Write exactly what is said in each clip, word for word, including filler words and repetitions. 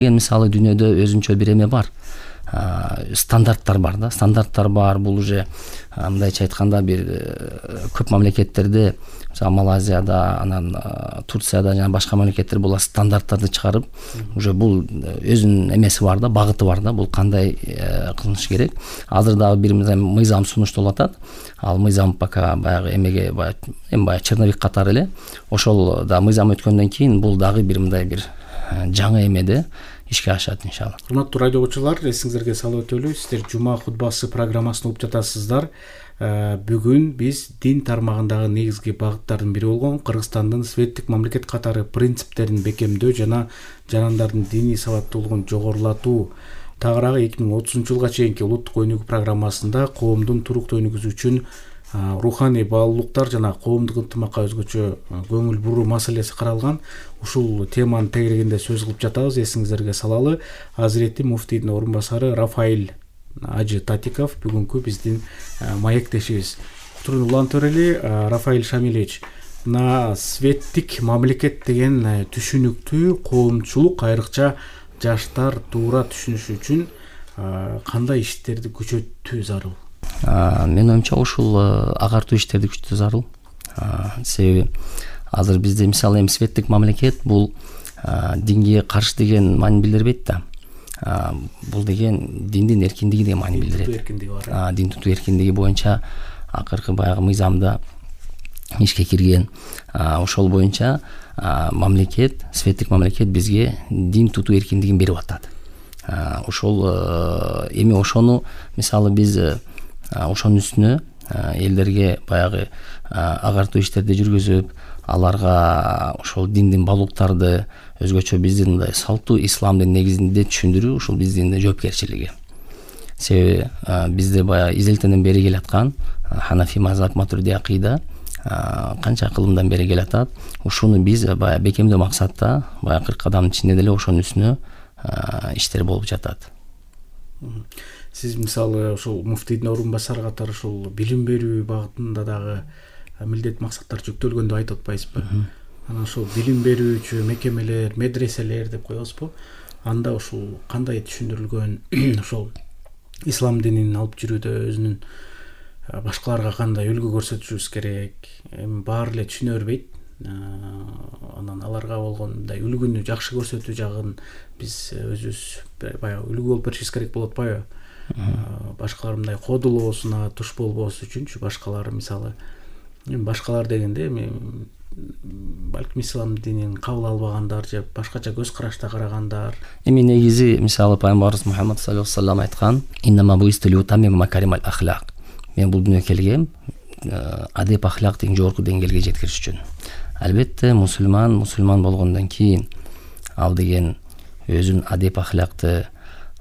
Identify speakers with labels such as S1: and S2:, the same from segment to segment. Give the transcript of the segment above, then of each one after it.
S1: Мисалы дүйнөдө өзүнчө бир эме бар, стандарттар бар да, стандарттар бар. Бул уже мындайча айтканда бир көп мамлекеттерде, мисалы Малайзияда, анан Турцияда жана башка мамлекеттер бул стандарттарды чыгарып, уже бул өзүнүн эмеси бар да, багыты бар да, бул кандай кылыныш керек. Азыр дагы бир мыйзам сунушталып атат. Ал мыйзам пока баягы эмеге эми баягы черновик катары эле. Ошол да мыйзам өткөндөн кийин бул дагы бир мындай бир жаңы эмеде ишке ашат иншалла.
S2: Урматтуу радио окуучулар, эсиңиздерге салып өтөлү, сиздер Жума хутбасы программасын угуп жатасыздар. Бүгүн биз дин тармагындагы негизги багыттардын бири болгон Кыргызстандын светтик мамлекет катары принциптерин бекемдөө жана жарандардын диний сабаттуулугун жогорулатуу тагыраагы эки миң отузунчу жылга чейинки улуттук өнүгүү программасында коомдун туруктуу өнүгүүсү үчүн руханий баалуулуктар жана коомдук ынтымакка өзгөчө көңүл буруу маселеси каралган. Ушул теманын тегерегинде сөз кылып жатабыз. Эсиңиздерге салалы, Азирети муфтийдин орун басары Рафаиль Ажы Татиков бүгүнкү биздин маектешибиз. Кутурун улантып берели, Рафаиль Шамилевич. Мына светтик мамлекет деген түшүнүктүү коомчулук, айрыкча жаштар туура түшүнүшү үчүн кандай иштерди күчөтүү зарыл?
S1: Менин оюмча ушул агартуу иштерди күчөтүү зарыл. Себеби азыр бизде мисалы эми светтик мамлекет бул динге каршы деген маани билдирбейт да. Бул деген диндин эркиндиги деген маани билдирет. Дин тутуу эркиндиги боюнча акыркы баягы мыйзамда ишке кирген. Ошол боюнча мамлекет, светтик мамлекет бизге дин тутуу эркиндигин берип атат. Ошол эми ошону мисалы биз ошонун үстүнө элдерге баягы агартуу иштерди жүргүзүп, аларга ошол диндин баалуулуктарды өзгөчө биздин мындай салттуу исламдын негизинде түшүндүрүү ушул биздин жоопкерчилиги. Себеби бизде баягы изилтенен бери келаткан Ханафи мазхаб, Матурidi акыйда канча кылымдан бери келатат. Ушуну биз баягы бекемдөө максатта баягы кырк кадамдын ичинде деле ошонун үстүнө иштер болуп жатат.
S2: Сиз мисалы ошол муфтийдин орун басары катары ушул билим берүү багытында дагы милдет максаттар жүктөлгөн деп айтып атпайсызбы? Анан ошол билим берүүчү мекемелер, медреселер деп коебузбу? Анда ушул кандай түшүндүрүлгөн, ошол ислам динин алып жүрүүдө өзүнүн башкаларга кандай үлгү көрсөтүшүбүз керек? Эми баары эле түшүнө бербейт. Анан аларга болгон мындай үлгүнү жакшы көрсөтүү жагын биз өзүбүз баягы үлгү болуп беришибиз керек болуп атпайбы? Башкалар мындай кодулоосуна туш болбоосу үчүнчү башкалары мисалы эми башкалар дегенде эми балким ислам динин кабыл албагандар же башкача көз карашта карагандар.
S1: Эми негизи мисалы пайгамбарыбыз Мухаммад саллаллаху алейхи ва саллям айткан: "Иннама буистулу тамим макаримал ахлак". Мен бул дүйнөгө келгем адеп ахлактын жогорку деңгээлге жеткириш үчүн. Албетте мусулман мусулман болгондон кийин ал деген өзүнүн адеп ахлакты,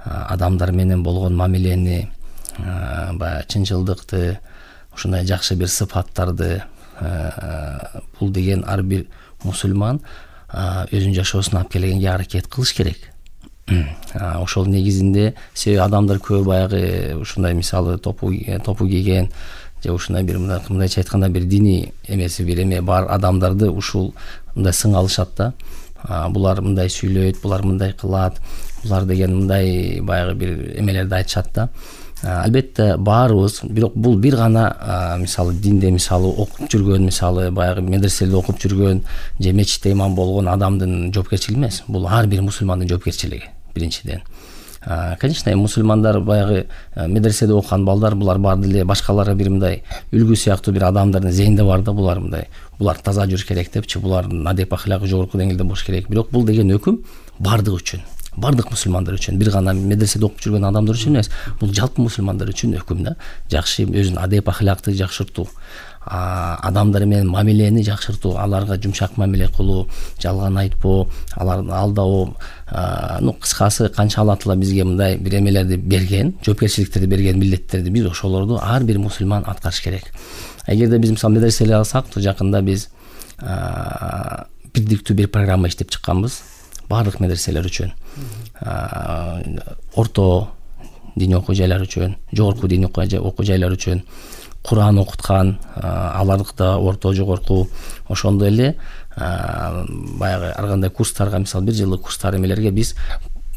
S1: адамдар менен болгон мамилени, баягы чынчылдыкты, ушундай жакшы бир сыфаттарды бул деген ар бир мусулман өзүнүн жашоосуна алып келгенге аракет кылыш керек. Ошол негизинде себеби адамдар көп баягы ушундай мисалы топу топу кийген же ушундай бир мындайча айтканда бир диний эмеси бир эме бар адамдарды ушул мындай сың алышат да. Булар мындай сүйлөйт, булар мындай кылат, булар деген мындай баягы бир эмелерди айтышат да. Албетте баарыбыз, бирок бул бир гана мисалы динде мисалы окуп жүргөн, мисалы баягы медреселерде окуп жүргөн же мечитте имам болгон адамдын жоопкерчилиги эмес. Бул ар бир мусулмандын жоопкерчилиги биринчиден. Конечно, мусулмандар баягы медреседе окуган балдар булар баары деле башкаларга бир мындай үлгү сыяктуу бир адамдардын зейинде бар да, булар мындай булар таза жүрүш керек депчи, булардын адеп ахлагы жогорку деңгээлде болуш керек. Бирок бул деген өкүм бардыгы үчүн, бардык мусулмандар үчүн, бир гана медреседе окуп жүргөн адамдар үчүн эмес. Бул жалпы мусулмандар үчүн өкүм да. Жакшы өзүнүн адеп ахлакты жакшыртуу, адамдар менен мамилени жакшыртуу, аларга жумшак мамиле кылуу, жалган айтпоо, аларды алдабоо, ну кыскасы канча Алла Таала бизге мындай бир эмелерди берген, жоопкерчиликтерди берген, милдеттерди биз ошолорду ар бир мусулман аткарыш керек. Эгерде биз мисалы медреселер алсак, жакында биз бирдиктүү бир программа иштеп чыкканбыз баардык медреселер үчүн. Орто диний окуу жайлар үчүн, жогорку диний окуу жайлар үчүн Кур'ан окуткан, аларда орто жогорку, ошондой эле баягы ар кандай курстарга, мисалы бир жылдык курстар эмелерге биз